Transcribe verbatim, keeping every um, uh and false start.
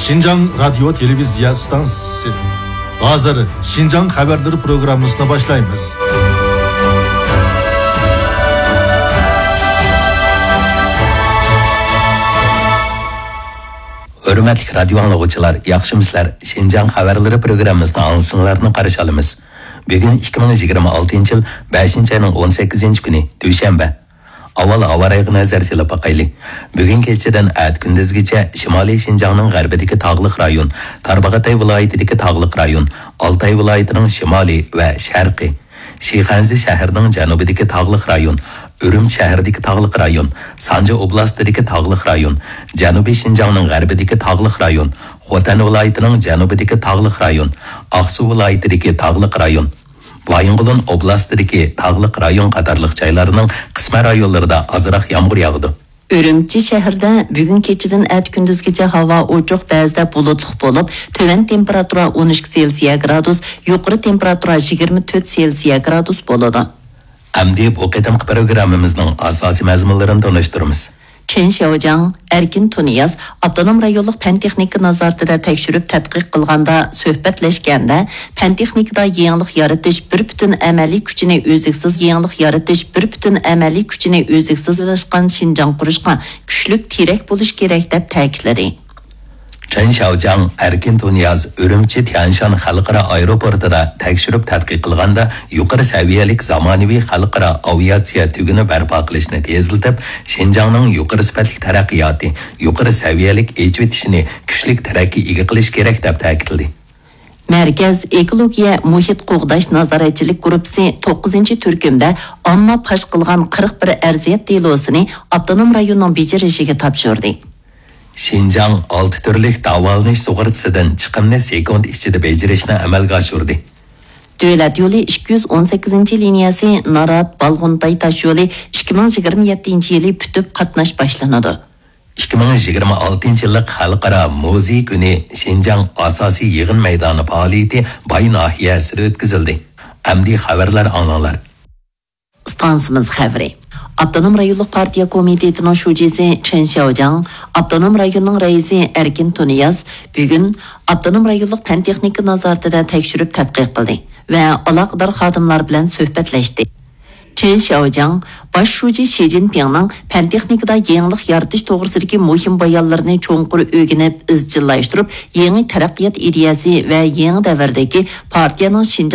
شىنجاڭ رادىيو تېلېۋىزىيە ئىستانسىسى. ھازىر شىنجاڭ خەۋەرلىرى پروگراممىسىنى باشلايمىز. ھۆرمەتلىك رادىيو ئاڭلىغۇچىلار، ياخشىمۇسىلەر؟ شىنجاڭ خەۋەرلىرى پروگراممىسىنى ئاڭلىشىڭلارنى قارشى ئالىمىز. بۈگۈن ئىككى مىڭ يىگىرمە ئالتىنچى يىل بەشىنچى ئاينىڭ ئون سەككىزىنچى كۈنى، دۈشەنبە. ئاۋۋال ھاۋا رايىغا نەزەر سېلىپ باقايلى. بۈگۈن كېچىدىن ئەتە كۈندۈزگىچە شىمالىي شىنجاڭنىڭ غەربىدىكى تاغلىق رايون، تارباغاتاي ۋىلايىتىدىكى تاغلىق رايون، ئالتاي ۋىلايىتىنىڭ شىمالى ۋە شەرقى، شىخەنزە شەھىرىنىڭ جەنۇبىدىكى تاغلىق رايون، ئۈرۈمچى شەھىرىدىكى تاغلىق رايون، سانجى ئوبلاستىدىكى تاغلىق رايون، جەنۇبىي شىنجاڭنىڭ غەربىدىكى تاغلىق رايون، خوتەن ۋىلايىتىنىڭ جەنۇبىدىكى تاغلىق رايون، ئاقسۇ ۋىلايىتىدىكى تاغلىق رايون، بايىنغولىن ئوبلاستىدىكى تاغلىق رايون قاتارلىق جايلارنىڭ قىسمەن رايونلىرىدا ئازراق يامغۇر ياغىدۇ. ئۈرۈمچى شەھىرىدە بۈگۈن كېچىدىن ئەتە كۈندۈزگىچە ھاۋا ئوچۇق، بەزىدە بۇلۇتلۇق بولۇپ، تۆۋەن تېمپېراتۇرا ئون ئىككى سېلسىيە گرادۇس، يۇقىرى تېمپېراتۇرا يىگىرمە تۆت سېلسىيە گرادۇس بولىدۇ. ئەمدى بۇ قېتىمقى پروگراممىمىزنىڭ ئاساسىي مەزمۇنلىرىنى تونۇشتۇرىمىز. چېن شياۋجياڭ، ئەركىن تۇنىياز ئاپتونوم رايونلۇق پەن تېخنىكا نازارىتىدە تەكشۈرۈپ تەتقىق قىلغاندا، سۆھبەتلەشكەندە، پەن تېخنىكىدا يېڭىلىق يارىتىش بىر پۈتۈن ئەمەلىي كۈچىنى ئۈزلۈكسىز، يېڭىلىق يارىتىش بىر پۈتۈن ئەمەلىي كۈچىنى ئۈزلۈكسىز ئىلىشقان شىنجاڭ قۇرۇشقا كۈچلۈك تىرەك بولۇش كېرەك، دەپ تەكىتلىدى. چېن شياۋجياڭ، ئەركىن تۇنىياز ئۈرۈمچى تيەنشان خەلقئارا ئايروپورتىدا تەكشۈرۈپ تەتقىق قىلغاندا، يۇقىرى سەۋىيەلىك زامانىۋى خەلقئارا ئاۋىئاتسىيە تۈگۈنى بەرپا قىلىشنى تېزلىتىپ، شىنجاڭنىڭ يۇقىرى سۈپەتلىك تەرەققىياتى، يۇقىرى سەۋىيەلىك ئېچىۋېتىشىنى كۈچلۈك تەرەققىي ئىگە قىلىش كېرەك، دەپ تەكىتلىدى. مەركەز ئېكولوگىيە مۇھىت قوغداش نازارەتچىلىك گۇرۇپپىسى توققۇزىنچى تۈركۈمدە ئامما پاش قىلغان قىرىق بىر ئەرزىيەت دېلوسىنى ئاپتونوم رايوننىڭ بېجىرىشىگە تاپشۇردى. شىنجاڭ ئالتە تۈرلۈك داۋالىنىش سۇغۇرتىسىدىن چىقىمنى سېكۇنت ئىچىدە بېجىرىشنى ئەمەلگە ئاشۇردى. دۆلەت يولى ئىككى يۈز ئون سەككىزىنچى لىنىيەسى نارات، بالغۇنتاي تاشيولى ئىككى مىڭ يىگىرمە يەتتىنچى يىلى پۈتۈپ، قاتناش باشلىنىدۇ. ئىككى مىڭ يىگىرمە ئالتىنچى يىللىق خەلقئارا مۇزېي كۈنى شىنجاڭ ئاساسىي يىغىن مەيدانى پائالىيىتى باي ناھىيەسىدە ئۆتكۈزۈلدى. ئەمدى خەۋەرلەر ئاڭلاڭلار. ئىستانسىمىز خەۋىرى. ئاپتونوم رايونلۇق پارتىيە كومىتېتىنىڭ شۇجىسى چېن شياۋجياڭ، ئاپتونوم رايوننىڭ رەئىسى ئەركىن تۇنىياز بۈگۈن ئاپتونوم رايونلۇق پەن تېخنىكا نازارىتىدە تەكشۈرۈپ تەتقىق قىلدى ۋە ئالاقىدار خادىملار بىلەن سۆھبەتلەشتى. چېن شياۋجياڭ باش شۇجى شى جىنپىڭنىڭ پەن تېخنىكىدا يېڭىلىق يارىتىش توغرىسىدىكى مۇھىم بايانلىرىنى چوڭقۇر ئۆگىنىپ، ئىزچىللاشتۇرۇپ، يېڭى تەرەققىيات ئىدىيەسى ۋە يېڭى دەۋردىكى پارتىيەنىڭ شىنجاڭ